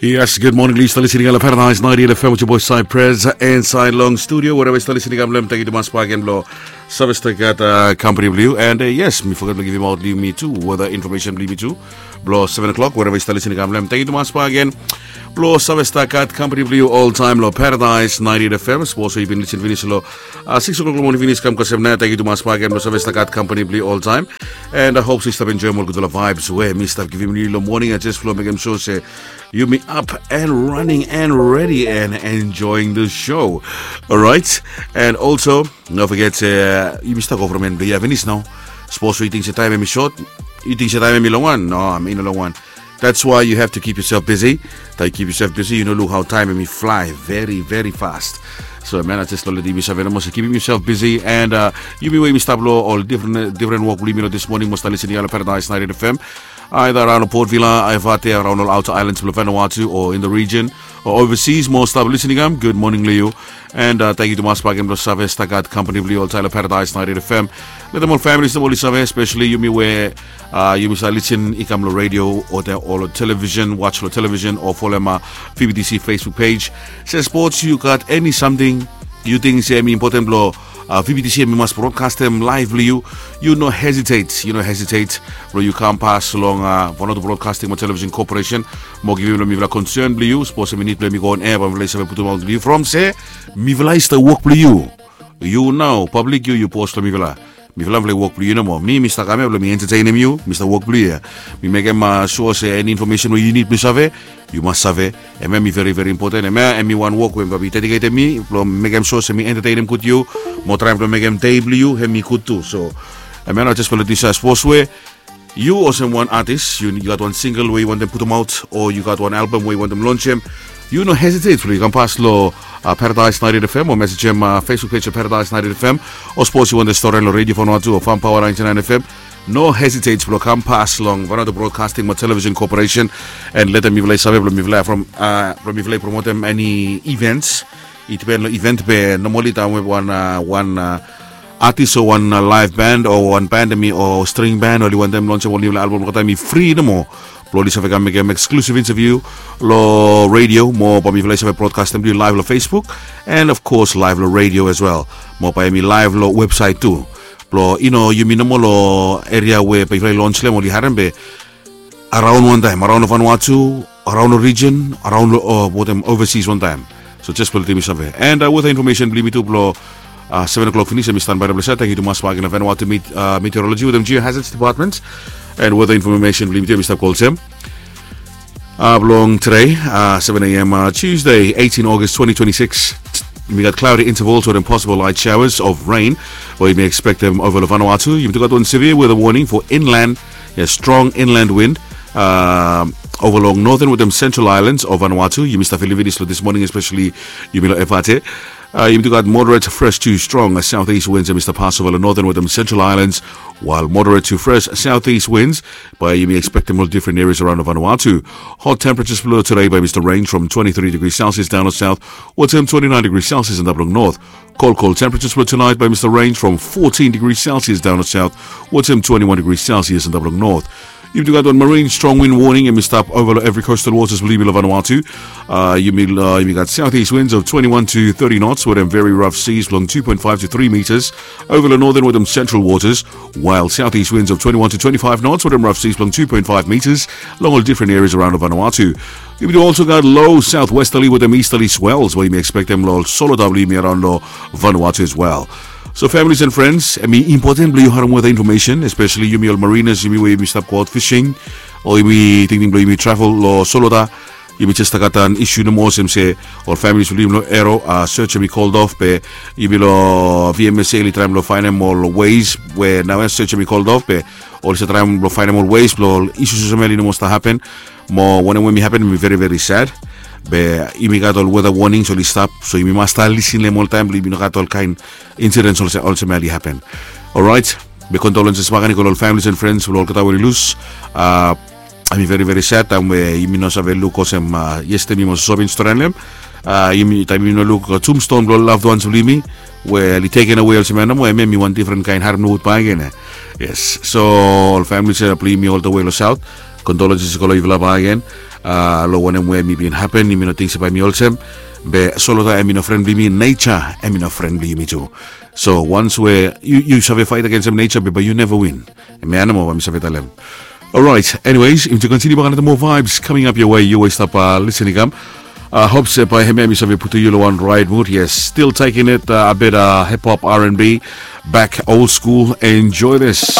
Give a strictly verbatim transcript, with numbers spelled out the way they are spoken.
Yes, good morning. Yu stap listening long Paradise ninety-eight F M with your boy Cypress inside long studio. Wherever yu stap listening, I'm Lem. Thank you tumas bak gen blong save stap gat uh, company blong yu. And uh, yes, mi foget blong givim out blong yumi tu weather information blong yumi tu. Blong seven o'clock, wherever yu stap listening, I'm Lem. Thank you tumas bak gen blong save stap gat company blong yu all time long Paradise ninety-eight F M. Sapos yu bin listen finis long uh, six o'clock long morning finis kam kasem na. Thank you tumas bak gen blong save stap gat company blong yu all time. And I hope so yu stap enjoy ol gudfala vibes we mi stap givim yu long morning. And just blong mekem sure se yumi up and running and ready and enjoying the show. Alright. And also, no forget se uh, yumi stap go from en blong yu finis nao. Sapos yu ting se taem hemi short, yu ting se taem hemi long wan. No, hemi no long wan. That's why you have to keep yourself busy. Taem yu keep yourself busy, yu no luk how time hemi fly very very fast. So man, I just love that yumi save nomo se keeping yourself busy. And uh, yumi we yumi stap long ol different different wok blong yumi long this morning, mo stap listening long Paradise ninety-eight F M. Either around Port Vila, Evate, around ol outer islands blong Vanuatu, or in the region, or overseas, mo stap listening am, good morning long yu. And uh, thank you tumas bak gen blong save stap gat company blong yu all time long Paradise ninety-eight F M. Letem ol families nomo oli save, especially yumi we uh, yumi stap listen i kam long radio o te o long television, watch long television o folem uh, V B T C Facebook page. Se sports, yu gat any something yu ting se hemi important blong uh, V B T C hemi mas broadcastem live blong yu, yu no hesitate, yu no hesitate blong yu kam pas long uh, Vanuatu Broadcasting mo Television Corporation mo givim long mifala concern blong yu. Sapos hemi nid blong hemi go on air, bae mifala i save putum aot long yu from se mifala i stap wok blong yu. Yu nao, public, yu yu bos long mifala. Mifala mifala i wok blong yu nomo. Mi mi stap kam ya blong mi entertainem yu, mi stap wok blong yu ya. Mi mekem uh, sure se any information we yu nid blong save, yu mas save. Hemia hemi very very important. Hemia hemi wan wok we bae mi dediketem mi blong mekem sure se mi entertainem gud yu mo traem blong mekem dei blong yu hemi gud tu. So hemia nao, just blong letem yu save sapos we yu olsem wan atis, yu gat wan single we yu wantem putum aot, o yu gat wan album we yu wantem lonsem, yu no hesitate blong yu kam pas long uh, Paradise ninety-eight F M o mesejem uh, Facebook page of Paradise ninety-eight F M. O sapos yu wantem stori long Radio Vanuatu o Farm Power ninety-nine F M, no hesitate blong kam pas long Vanuatu Broadcasting mo Television Corporation and letem mifala i save blong mifala from uh, blong mifala i promotem any events. I dipen long event be normally taem we wan uh, wan uh, atis o wan uh, live band o wan band hemi o string band oli wantem lonsem ol niufala album, olgeta hemi fri nomo blong oli save kam mekem exclusive interview long radio mo bae mifala i save broadcastem blong yu live long Facebook and of course live long radio as well. Mo bae hemi live long website tu. Blong yu no yumi nomo long area we bae mifala i lons long hem oli harem be araon wantaem, araon long Vanuatu, araon long region, araon long uh, wetem overseas wantaem. So just blong letem yu save. And uh, weather information blong yumi tu blong uh, seven o'clock finis, hemi stanbae long ples ya. Thank you tumas bak gen long Vanuatu Met- uh, Meteorology wetem Geohazards Department. And weather information blong yumi tu hemi stap go olsem. Uh, blong today, uh, seven a.m. Uh, Tuesday, eighteen August twenty twenty-six. Yumi gat cloudy intervals wetem possible light showers of rain we yumi expectem ova long Vanuatu. Yumi tu gat wan severe weather warning for inland, a strong inland wind um, ova long northern wetem central islands of Vanuatu. Yumi stap filim finis long this morning, especially yumi long Evate. Uh, yumi tu gat moderate fresh to strong uh, southeast winds hemi stap pas ova long northern wetem central islands, while moderate to fresh southeast winds bae yumi expectem long different areas around Vanuatu. Hot temperatures blong today bae mista range from twenty-three degrees Celsius down to south, wetem twenty-nine degrees Celsius antap long north. Cold, cold temperatures for tonight bae mista range from fourteen degrees Celsius down to south, wetem twenty-one degrees Celsius antap long north. Yumi tu gat wan marine strong wind warning hemi stap ova long every coastal waters blong yumi long Vanuatu. Uh, yumi, uh, yumi gat southeast winds of twenty-one to thirty knots wetem very rough seas blong two point five to three meters ova long northern wetem central waters, while southeast winds of twenty-one to twenty-five knots wetem rough seas blong two point five meters long ol different areas around Vanuatu. Yumi tu also gat low southwesterly wetem easterly swells we yumi expectem long ol solo blong yumi around long Vanuatu as well. So families and friends, hemi important blong yu harem weather information, especially yumi ol mariners, yumi we yumi stap go out fishing o yumi tingting blong yumi travel long solo. Yumi jes stap gat wan issue nomo olsem se ol families blong yumi long Ero, uh, search hemi called off be yumi long V M S A oli traem blong faenem ol ways we naoia search hemi called off be oli stap traem blong faenem ol ways blong ol issues olsem ya oli no moa stap hapen. Mo wanem we hemi hapen hemi very very sad. Be yumi gat ol weather warnings oli stap, so yumi mas stap lisin long hem oltaem blong yumi no gat ol kaen incidents olsem ya oli hapen. Alright. Be condolences bakegen i go long ol families and friends blong olgeta we oli lus. Uh, hemi very very sad taem we yumi no save luk olsem uh, yestede mi mas soso bin stori long hem. Uh, yumi taem yumi no luk uh, tombstone blong ol loved ones blong yumi we oli taken away olsem ya nomo, hemia hemi wan different kaen harem nogut bakegen. Yes. So ol families blong yumi all the way long south, condolences i go long yufala bakegen. Long wanem we mi bin hapen, yumi no ting se bae mi olsem. Be solota em i no fren blong yumi, neja em i no fren blong yumi tu. So once we yu save fait agensem neja, be bae yu neva win. Em ya nomo bae mi save talem. Alright, anyways, yumi tu kontiniu bak anata moa vibes coming up your way. Yu we stap lisening kam. Hop se bae hemia mi save putum yu long wan right mood. Yes, still taking it a bit hip hop, R and B, back old school. Enjoy this.